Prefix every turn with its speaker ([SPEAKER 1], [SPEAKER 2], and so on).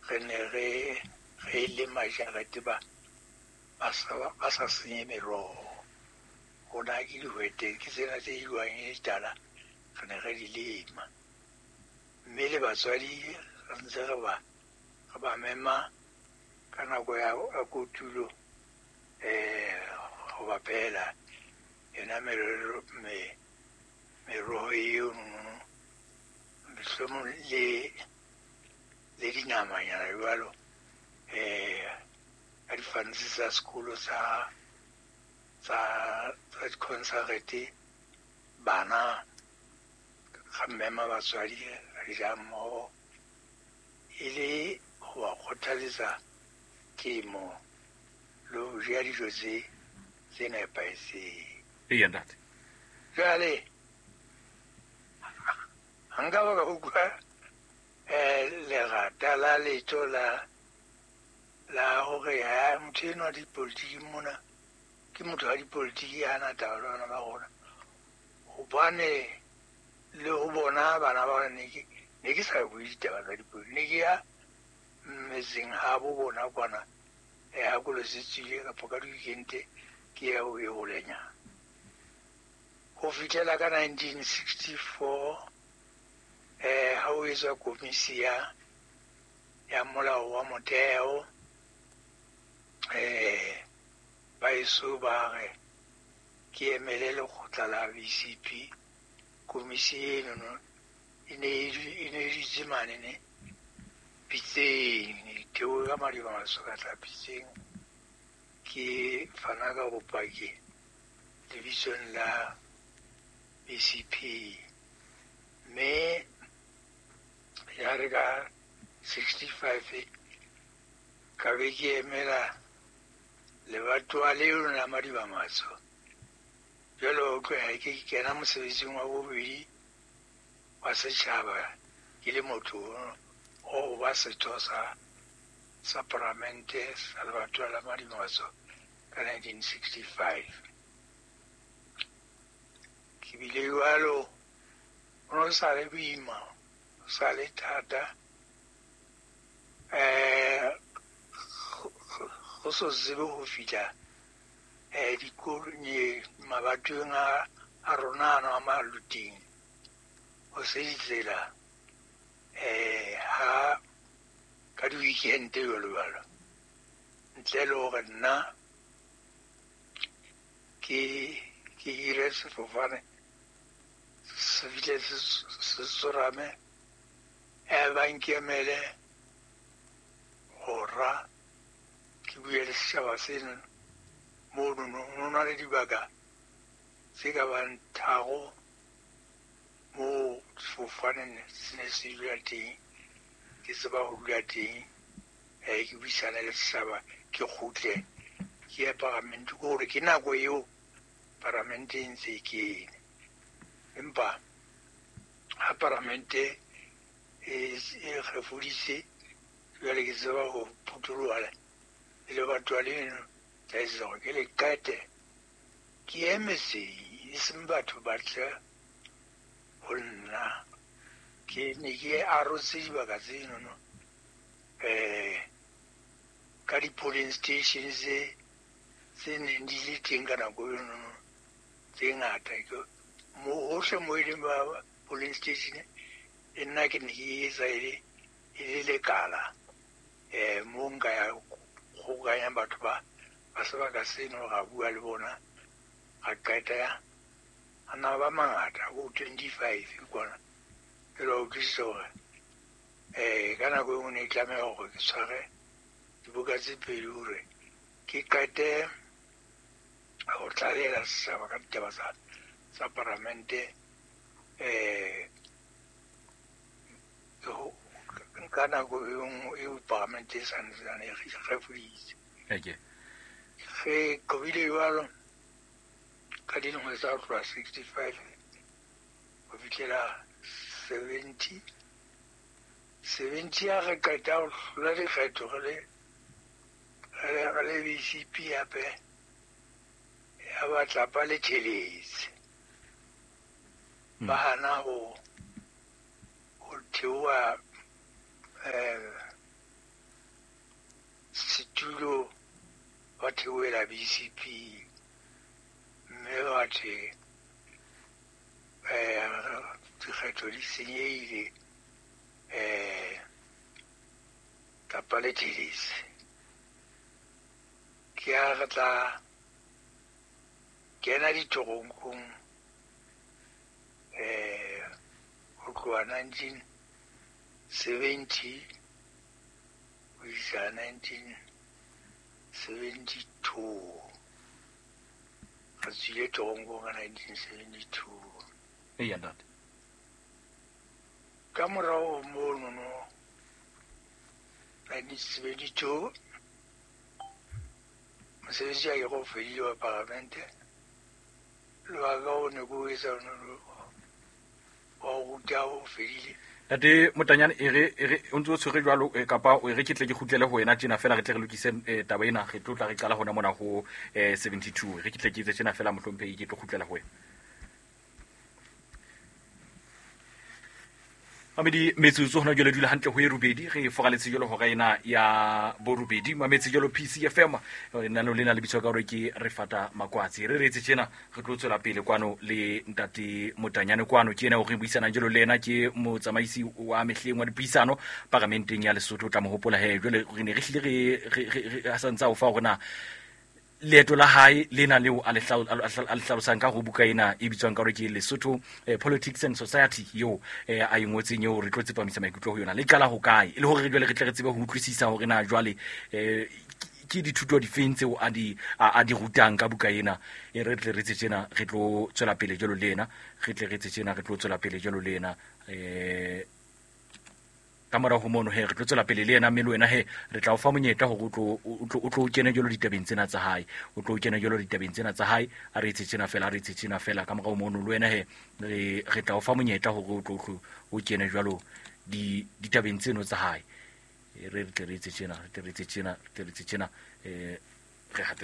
[SPEAKER 1] Re ne re lema jarete ba ba sa senye meroho. Rona ke dihwete ke tsena tse jewang e le tala, re ne re di lema. Mme le batswadi re ntse re ba mema ka nako ya kotulo, ho ba phehela yona meroho eo mohlomong le dinamanyana jwalo, ka difansi tsa sekolo tsa di-concert, bana ga mema batswadi re ja mmoho, e le ho ba kgothaletsa temo le ho ja dijo tse nepahetseng.
[SPEAKER 2] Eya ntate.
[SPEAKER 1] Jwale ha nka ba ka utlwa lerata la letho la hore ha motho enwa dipolitiki mona ke motho wa dipolitiki ha na taba le bana ba rona, hobane le ho bona bana ba ne ke sa bue ditaba tsa dipolitiki, ne ke ya metseng ha bo bona kwana, ha kolo se tswile kapa ka di-weekend ke ya ho e holenyana. Ho fihlela ka 1964, ha ho etswa komisi ya molao wa motheo, baeso ba re ke emele lekgotla la BCP. Komisi eno e ne e dutse mane ne Pitseng, e theohe ka Madiba-Maso ka tla Pitseng, ke fana ka bopaki lebitsong la BCP. Mme ya re ka 65 ka be ke emela lebatowa leo la Madiba-Maso. Jwale ho tloha ke kena mosebetsing wa bobedi wa setjhaba ke le motho o ba setho sa paramente sa lebatowa la Madiba-Maso ka 1965. Ke bile jwalo, ho no sa le boima, ho sa le thata, go so tsebe ho fihla mabatoweng a rona ano a Maluting, ho se ditsela, ha ka di-weekend jwalo jwalo, ntle le hore nna ke hire sefofane se fihle se tsorame, ba nkemele hora ke bue le setjhaba seno. Mono ho na le dibaka tse ka bang 3 moo sefofane se ne se dula teng, ke tseba ho dula teng, ke buisane le setjhaba, ke kgutle ke ye paramente, ke hore ke nako eo paramente e ntse e kene. Empa ha paramente e kgefuditse, jwale ke tseba ho phuthuloha le lebatowa leno, tla etsetsa hore ke le qete, ke ye metseng, e seng batho ba tle ho nna. Ke ne ke arotse dibaka tsenono, ka di-polling stations tse neng di le teng ka nako enono tse ngata. Hohle moo e leng ba polling station, le nna ke ne ke etsa e le lekala, moo nka ya kgobokanya batho ba sebaka seno, ra bua le bona, ra qeta. A na ba mangata, bo 25 kwana. Ke la utlwisisa hore, ka nako e nngwe ne e tlameha hore ke tshware dibuka tse pedi hore ke qete ho tlalehela setjhaba ka ditaba tsa paramente, ka nako e nngwe eo paramente e santsane e kgefuditse. Re qobile jwalo ka dilemo tsa ho tloha 65 ho fihlela 70. 70 ha re qeta ho hlola dikgetho re le BCP hape, ya ba tlapa le theletse. Ba hana ho theoha theohela BCP mme bathe dikgetho di senyehile kapa le thelese. Ke ha re tla kena ditoronkong ho tloha 1970 ho isa 1972. Re tswile toronkong ka 1972.
[SPEAKER 2] Eya ntate.
[SPEAKER 1] Ka morao mono no 1972 mosebetsi wa ke go fedile wa paramente le wa ka o ne ko etsa wa go ruta o fedile.
[SPEAKER 2] Ntate Motanyane, e re o ntse o tshwere jwalo kapa o e re ke tle ke kgutlele ho wena tjena fela re tle re lokise taba ena, re tlo tla re qala hona mona ho 72. Re ke tle ke etse tjena fela mohlomphehi, ke tlo kgutlela ho wena. Mamedi metsotso hona jwale dula hantle ho e robedi, re foraletse jwalo hora ena ya borobedi. Mametse jwalo PCFM, lenaneo lena le bitswa ka hore ke re fata makwatsi. Re retse tjena re tlo tswela pele kwano le ntate Motanyane kwano, ke yena o re buisanang jwalo le yena, ke motsamaisi wa mehleng wa dipuisano paramenteng ya Lesotho. O tla mo hopola he jwale re ne re hlile re a santsa o fa hore na leeto la hae lena leo a le hlalosang ka ho buka ena e bitswang ka hore ke Lesotho Politics and Society eo a e ngotseng, eo re tlo tsepamisa maikutlo ho yona, le qala ho kae, e le hore jwale re tle re tsebe ho utlwisisa hore na jwale ke dithuto difeng tseo a di rutang ka buka ena. E re tle re tse tjena re tlo tswela pele jwalo le ena, re tle re tse tjena re tlo tswela pele jwalo le ena ka morao ho mono he re tlo tswela pele le yena, mme le wena he re tla o fa monyetla hore o tlo kene jwalo ditabeng tsena tsa hae, o tlo kene jwalo ditabeng tsena tsa hae. A re etse tjena fela, a re etse tjena fela. Ka morao mono le wena he re tla o fa monyetla hore o tlo o kene jwalo ditabeng tseno tsa hae. Re tle re etse tjena, re tle re etse tjena, re tle re etse tjena, re hate.